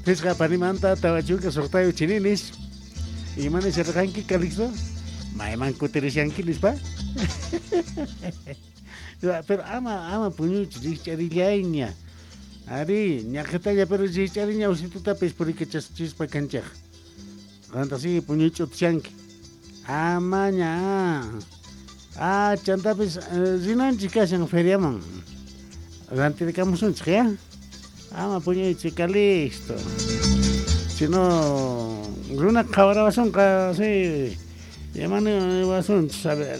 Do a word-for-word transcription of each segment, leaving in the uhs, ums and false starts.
Pisqa panimanta tawa chunka suqtayu chininis. Imani sirqanki Calixto? Mayman kutirishanki nispa? Pero ama ama puñuychu rikch'arillayña. Ari, ñaqhitalla pero rikch'ariña usitutapis purikachaspa kanchaq. Qanta sigue puñuych'utishanki. Amaña. Ah, chantapis rinanchik kashan feriaman. Rantirikamusunchik ya. Ama puñuychu Calixto. Si no, runa qhawarawasunqa sí. Yamani wasunchis, a ver.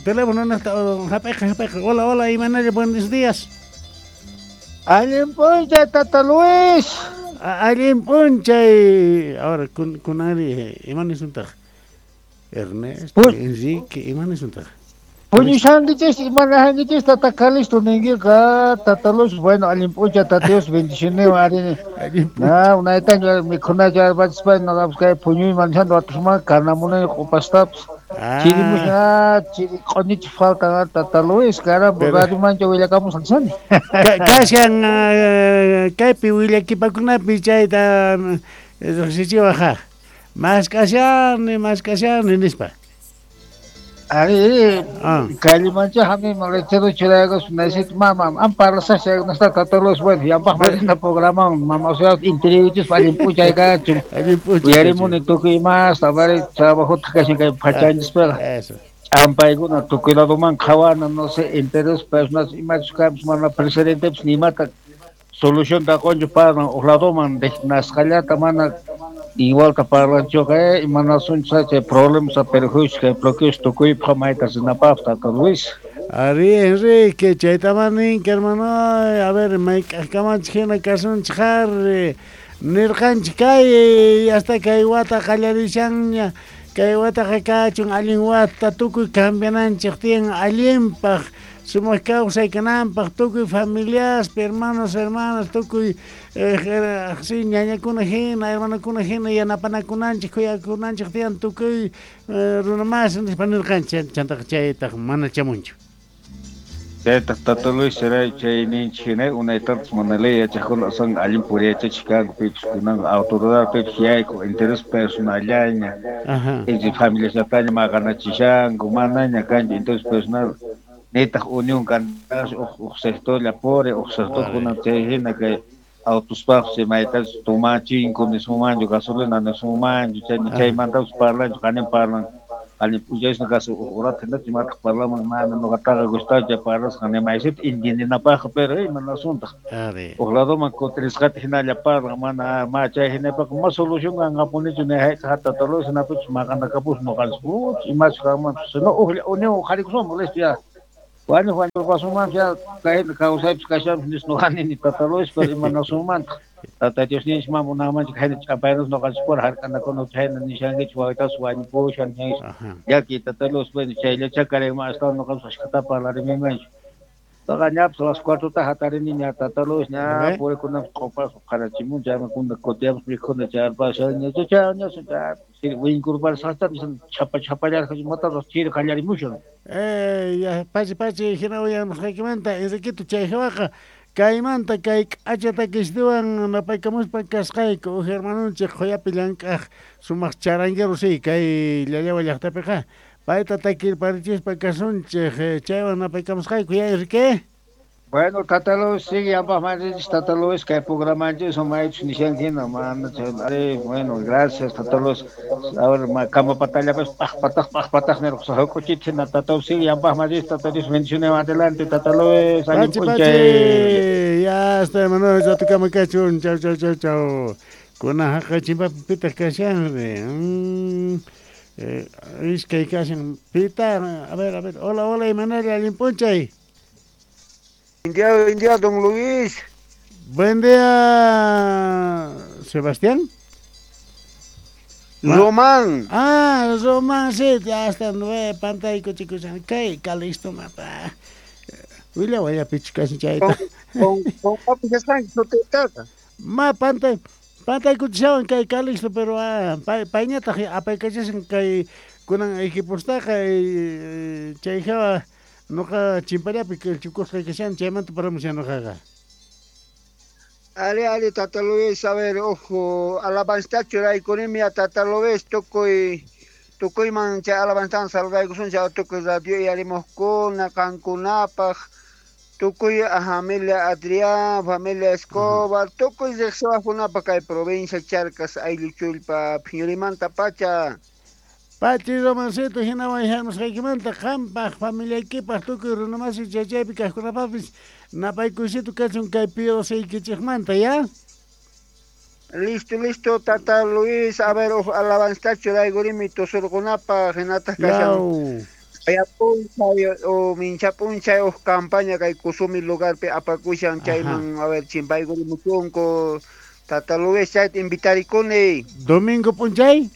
Teléfono naqta hap'iqa hap'iqa. Hola, hola, imanalla, buenos días. Allin p'unchay, Tata Luis. Allin p'unchay. Ahora, kun kunari, imanisuntaq? Ernesto, Enrique, imanisuntaq? Puñushankichis, imanahankichis, Tata Calixto ninkiqa, Tata Luis, bueno, allin p'unchay, Tata Dios, bendiciones, ari. Na, unaytaña mikhunacha arpachispa, noqapas kay puñuyman nishanto atusman kanamunay q'upastapas. Chirimusha, chiri q'uñichis faltan, Tata Luis, caramba, radiomancha willakamusqa nishani. Kashan kaypi willakipakunapi chayta riqsichiwaq, mask'ashani, mask'ashani nispa. Ari, callimancha hamiman lechero churaykus necesito mama, am parlasaq chaykunasta Tata Luis, bueno, yampaq marina programa, mama, o sea, interiorichis allin p'unchay kachun. Uyarimuni tukuy imasta, vari trabajota kashan kay pachanchis-piqa. Ch'ampaykuna tukuy ladoman qhawana, no sé, interés personal imachus kanpis mana presidentepis nimata solucionta qunchu parlan uq ladoman nasqallata mana igualta parlanchuqa, imanasunchis chay problemas perjuicios kay bloqueos tukuypaq mayta rinapaq Tata Luis. Ari, Enrique, chaytaman ninki, hermano, a ver, mayk'aqkamanchik hina kasunchik ari. Nirqanchik kay hasta kay wata qallarishanña, kay wataqa kachun allin wata tukuy cambiananchik tiyan allinpaq, sumaq kawsay kananpaq, tukuy familiaspi, hermanos, hermanas, tukuy eh, ñañakuna hina, hermanakuna hina yanapanakunanchik, khuyakunanchik tiyan tukuy eh, runa mas nispa nirqanchik, chantaqa chaytaq mana chamunchu. Chaytaq Tata Luis chay chay ninchik hina unaytapas mana ley yachaqkuna asan allin puriyachachiq kanku pichus kunanqa autoridad pichus yayku interés personallaña inchi familiasllataña maqanachishanku manaña kanchu interés personal nitaq unión kantas uq uq sectorlla puri uq sector kunan chay hina kay autospaqpis maytachus tumachinku nisunmanchu gasolina nisunmanchu chay chaymantapas parlanchu qanin parlan allin p'unchaysna kasu uq urata hinachu imataq parlaman mana nuqataqa gustachu parlasqa nimaysita entiendinapaqqa pero imanasuntaq uq ladoman kutirisqata hinalla parlan mana ma chay hinapaqqa ma solución kanqapunichu ni hayk'aq Tata Luis hinapichus maqanakapus nuqanchis puch imachus kanmanpis sino uqlla unión uqharikusunman listo ya wañuq wañurpasunmanpis ya kay kawsaypis kashanpis nispa nuqa nini Tata Luis pero imanasunmantaq Tata Diosninchik mana munanmanchu khayna ch'ampaynas nuqanchispura hark'anakuna chayna nishankichik wawitapas wañupushan nishankichik llaki Tata Luis bueno chayllacha karayman astawan nuqapas ashkhata parlarimaymanchu taqa ñapas las cuatrota hatariniña Tata Luis ña purikunapas q'upas qarachimun chayman kuna kutiyapas mikhuna chayarpasha ña ña winkurparisqasta chhapa chhapallarqa imatapas chiri qallarimushan. Eh, ya pachi pachi hina uyamusqaykimanta Enriquito chay hawaqa kaymanta kay k'acha takistiwan napaykamuspa kasqayku uj hermanunchik qhuyapi llank'aq sumaq charanguero sí kay Llallawa llaqtapiqa payta takirparichispa kasunchik chaywan napaykamusqayku ya Enrique. Bueno, Tata Luis, sigue ambas maneras, Tata Luis, que programanchis o maychus nishanki hina, mana chay, ari, bueno, gracias, Tata Luis. A ver, ma, kama patalla, pues, paj, pataj, paj, pataj, nirqa, huk'uchit hina, Tata Luis, sigue ambas maneras, Tata Luis, bendiciones adelante, Tata Luis, allin Pachi, p'unchay. pachi, ya está, hermano, ya tocamos cachun, chau, chau, chau, chau. Kuna haqa chimpapi pitaq kashanri. Mm, eh, iskay kashan, pita, a ver, a ver, hola, hola, Imanalla, allin p'unchay. Buen día, buen día, don Luis. Buen día, Sebastián. Román. Ah, Román, sí, ya está, nueve, pantalla, chicos, kay, Calixto, mapa. Willa, waya, pichu, casi chayta. Con, con, con papi, ya están, no te trata. Ma, pantalla, pantalla, kuchishawan, kay, Calixto, pero, ah, pa, pañata, apaykachasan, kay, kunan equipostaqa, eh, chay jawa, noqa chimpallapi chukusqa kashan chaymanta paramushan noqaqa. Ali, ali, Tata Luis, a ver, ojo, alabanza churaykunimi a Tata Luis, tukuy, tukuyman chay alabanzan saludaykusun chay tukuy radio yarimuqkuna, qankunapaq, tukuy a familia Adrián, familia Escobar, tukuy riqsiwaqkunapaq kay provincia Charcas, aylluchullpa, phiñurimanta pacha. Pachi Romancito, hinawan hamusqaykimanta qampaq familiaykipaq tukuy runamasi chaychaypi kaqkunapaqpis napaykuysito kachun kay piosaykichikmanta, ya? Listo, listo, Tata Luis, a ver, uj alabanza churaykurimi tusurqunapaq, hinataq kashan Aya p'unchay o mincha p'unchay uj campaña kay Kusumi lugarpi apakushan chayman, a ver, chimpaykurimuchunku, Tata Luis, chayta invitarikuni. Domingo p'unchay?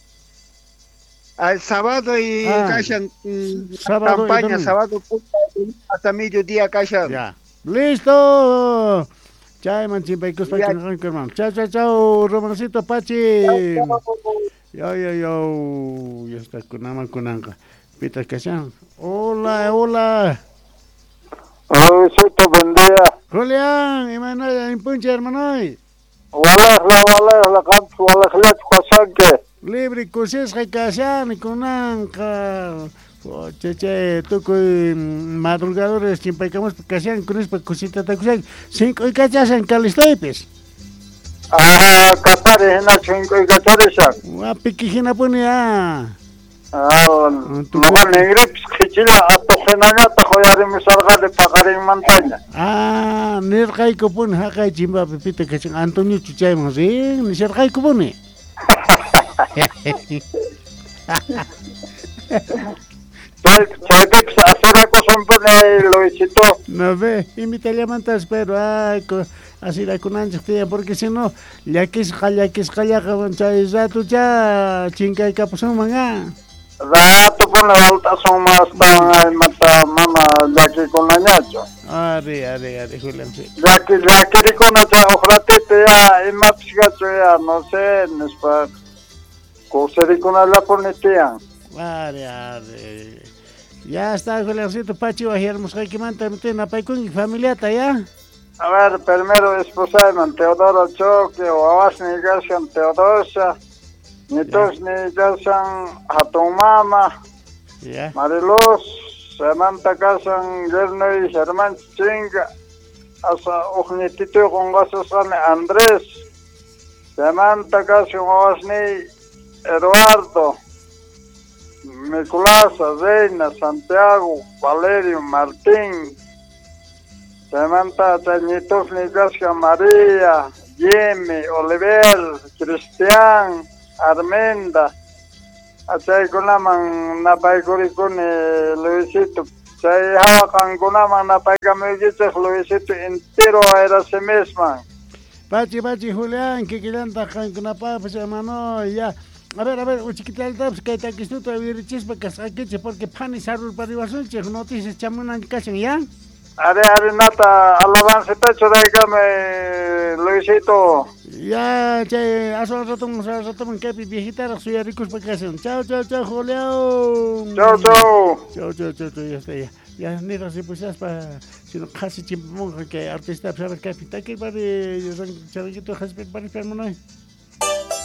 Al sábado y Ah, kashan mm, sábado y campaña, domingo. sábado hasta mediodía kashan. Ya. Listo. Chayman chimpaykuspa Ya. kunanqa, hermano. Chao, chao, chao, Romancito Pachi. Yo, yo, yo. Ya está kunaman kunanqa. Pita kashan. Hola, hola. Luisito, buen día. Julián, imaynalla impuncha, hermano. Walajla, walajla, qampis walajllachu kashanki. Libre kusisqa kashani kunanqa. Oh, che, che, tukuy madrugadores chimpaykamuspa kashan kunispa kusitatakushan sink'uykachashan kalistoypis. Ah, katari hinachu hink'uykacharishan. Wapiki hinapuni ah. Ah, nuqa ningripis qhichilla atuq hinañataq uyarimusharqani paqarinmantaña. Ah, nirqaykupuni haqay chimpapi pita kashan Antoniochu chayman rin nisharqaykupuni. Chay chaypipis asirakusunpuni Luisito. No ve, invitallamantas pero ay, asirakunanchik tiyan porque si no llakisqa llakisqallaqa chay ratucha chinkaykapusunman ah. Ratupuni walt'asunman astawan imata mana llakikunañachu. Ari, ari, ari, Julián, sí. Llaki llakirikuna chay uq ratito ya imapis kachu ya no sé nispa kusirikunallapuni tiyan. Ari, ari. Ya está, Juliancito, Pachi, wajyarmusqaykimanta napaykunki familiata, ya? A ver, primero esposayman Teodoro Choque, wawasniy kashan Teodosia, nitusniy kashan hatun mama, Ya. Mariluz, chaymanta kashan yernuy Germán Chinga, asa uq ñitituy qunqasusqani Andrés, chaymanta kashan wawasniy Eduardo, Nicolasa, Reina, Santiago, Valerio, Martín, chaymanta chay ñitusniy kashan María, Jimmy, Oliver, Cristian, Arminda, chaykunaman napaykurikuni Luisito, chay hawa qankunaman napaykamuykichik Luisito entero Erasimisman. Pachi, pachi, Julián, kikillantaq qankunapaqpis, hermano, ya. A ver, a ver, uchikitaltapis kay takistuta wirichispa kasqaykichik porque phani sarurpariwasunchik noticias chamunan kashan, ya? Ari, ari, nata, alabancita churaykamay, Luisito. Ya, chay, aswan raton, aswan raton, kaypi viejitaraq suyarikuspa kashan. Chau, chau, chau, Julián. Chau, chau. Chau, chau, chau, chau, ya está, ya. Ya, niraq ripushaspa, sino qhasi chimpamunqa kay artista, a ver, kaypi takirpari, charanquito haspirpari, hermano.